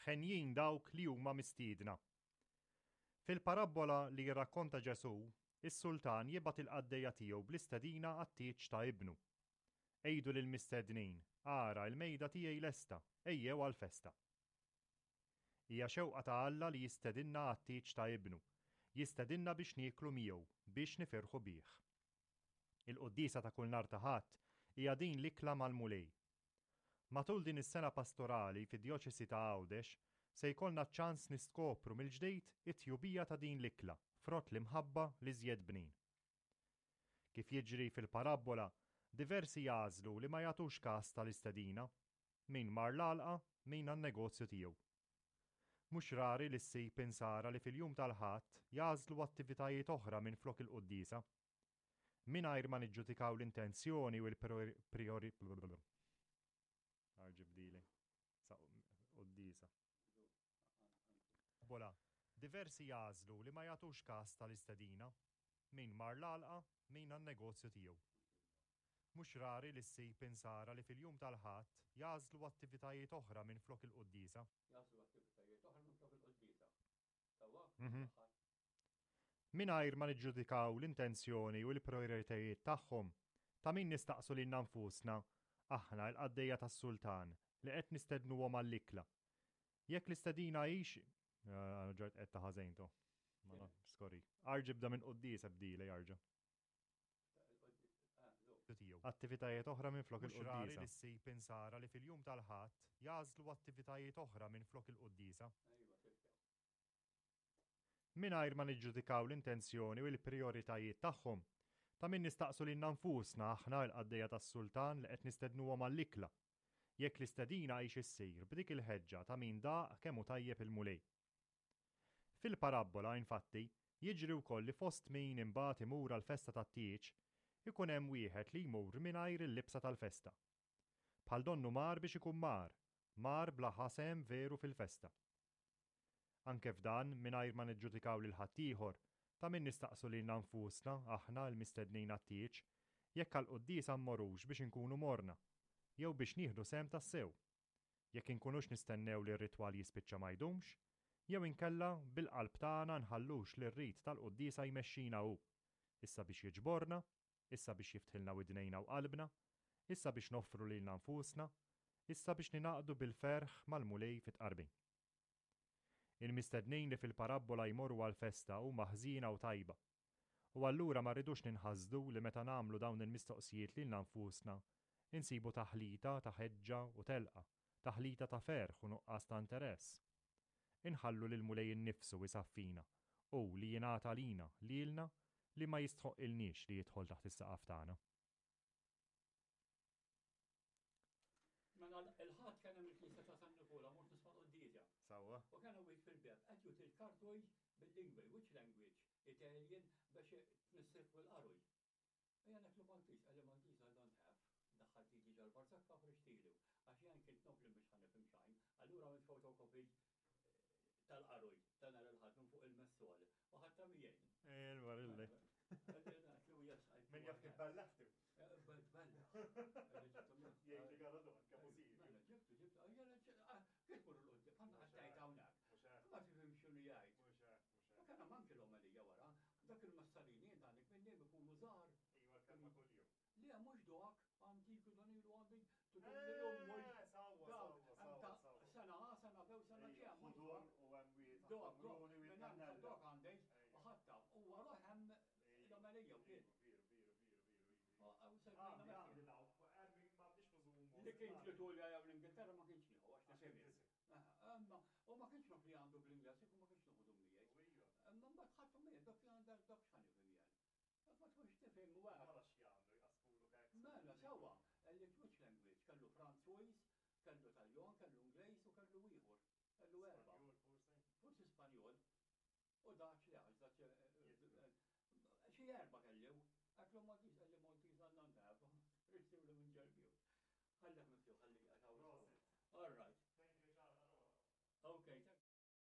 Henjin dawk li huma mistiedna. Fil-parabbola li jirrakkonta Ġesù, is-sultan jibgħat il-qaddejja tiegħu bl-istedina għat-tieġ ta' ibnu. Għidu lill-mistednin, 'Ara, il-mejda tiegħi lesta, ejjew għall-festa. Hija xewqa ta' Alla li jistedinna għat-tieġ ta' Ibnu, jistedinna biex nieklu miegħu, biex nifirħu bih. Il-quddiesa ta' kull nhar ta' Ħadd hija din l-ikla mal-Mulej. Matul din is-sena pastorali fid-Djoċesi ta' Għawdex se jkollna ċ-ċans niskopru mill-ġdid it-tjubija ta' din l-ikla, frott l-imħabba l-iżjed bnin. Kif jiġri fil-parabbola, diversi jagħżlu li ma jagħtux kas tal-istedina, min mar l-għalqa, min għan-negozju tiegħu. Mhux rari li ssib Insara li fil-jum tal-Ħadd jagħżlu attivitajiet oħra minflok il-quddiesa. Mingħajr ma niġġudikaw l-intenzjoni u l-prijori. Arġibdili. Sa quddiesa. Bola, diversi jagħżlu li ma jagħtux kas tal-istedina. Min mar l-għalqa, min għan-negozju tiegħu. Mhux rari li ssib Insara li fil-jum tal-Ħadd jagħżlu attivitajiet oħra minflok il-quddiesa. Jagħżlu attivitajiet oħra minflok il-quddiesa. Sewwa? Tal-Ħadd. Mingħajr ma niġġudikaw l-intenzjoni u l-prijoritajiet tagħhom, ta' min nistaqsu lilna nfusna, aħna l-qaddejja tas-Sultan li qed nistednuhom għall-ikla, jekk l-istedina hix Ġart qed ta' ħażejn to. Ma skorri. Arġi bda minn quddiesa bdile jarġa'. Attivitajiet oħra minflok il-quddiesa. Mhux rari li ssib Insara li fil-jum tal-Ħadd jagħżlu attivitajiet oħra minflok il-quddiesa. Mingħajr ma niġġudikaw l-intenzjoni u l-prijoritajiet tagħhom, ta' min nistaqsu lilna nfusna aħna l-qaddejja tas-Sultan li qed nistednuhom għall-ikla, jekk l-istedina hix issir b'dik il-ħeġġa ta' min daq kemm hu tajjeb il-Mulej. Fil-parabbola, infatti, jiġri wkoll li fost min imbagħad imur għall-festa tat-tieġ, ikun hemm wieħed li jmur mingħajr il-libsa tal-festa. Bħal donnu mar biex ikun mar, mar bla ħa sehem veru fil-festa. Anke f'dan, mingħajr ma niġġudikaw lil ħaddieħor, ta' min nistaqsu lilna nfusna, aħna l-mistednin għat-tieġ, jekk għall-quddiesa mmorrux biex inkunu morna, jew biex nieħdu sehem tassew. Jekk inkunux nistennew li r-ritwal jispiċċa ma jdumx, jew inkella bil-qalb tagħna nħallux lir-rit tal-quddiesa jmexxina hu, issa biex jiġborna, issa biex jiftħilna widnejna u qalbna, issa biex noffru lilna nfusna, issa biex ningħaqdu bil-ferħ mal-Mulej fit-tqarbin. Il-mistednin li fil-parabbola jmorru għall-festa huma ħżiena u tajba. U allura ma rridux ninħasdu li meta nagħmlu dawn il-mistoqsijiet lilna nfusna, insibu taħlita ta' ħeġġa u telqa, taħlita ta' ferħ u nuqqas ta' interess. Inħallu lill-Mulej innifsu isaffina, hu li jingħata għalina, lilna li ma jistħoqqilniex li jidħol taħt is-saqaf tagħna. Mela il-ħadd kien hemm il-knisja ta' San Nikola mort nisma' quddiesa. Sewwa. U kien hawn fil-beb qed juti l-kartoj bil-lingwi, which language? Italian biex tnissir fuq il-qaruj. Ejja neklu Maltese, qalli Maltese I don't have. Daħħalt idi ġol-barzakka u ħriġtilu. Għax jien kint nof li mhux ħa nifhem xejn. Allura għamilt photocopy tal-qaruj ta' nhar il-Ħadd minn fuq il-messol u ħadtha miegħi. Il-barilli. Min jaf kif bellaħtu. Bellaħ. Jgħid li għala dok, kemm hu Mela, ġibtu, ġibtu, kif mur l-qoddim, bħalma għattajt hawnhekk. Ma tifhimx x'inhu jgħid. U kien hemm anki l-omelija wara, dak il-massalini int għandek minnhom ikunu żgħar. Iva, l-kelma kuljum. Le mhux dok, antiku dan ilu għandi eh, Sawwa, sawwa, sawwa. Sena A, sena B u sena C. Ħudur u hemm wieħed. Dok, dok, minn hemm dok għandi u ħatta u wara hemm l-omelija wkoll. Veru, veru, veru, veru. Li kien l-Italja jew l-Ingilterra ma kienx nieħu għax nifhem. Imma u ma kienx naf li għandu bl-Ingliż, ma kienx noħodhom miegħi. Imma mbagħad ħadthom miegħi dak li għandha dak x'ħa nifhem jien. Ma tkunx tifhem u hekk. Mela x'jagħmlu jqassmuluk hekk? Mela sewwa, which language? Kellu Francuż, kellu Taljan, kellu Ingliż u kellu ieħor. Kellu erbgħa. Spanjol forsi? Forsi Spanjol. U Dutch le għax Dutch eh, eh, xi erba' kellu. Għatlu Maltese, għalli Maltese għandna ntafu. Ristiwlu minn ġelbiju. Ħallek miftuħ, ħalli għax All right.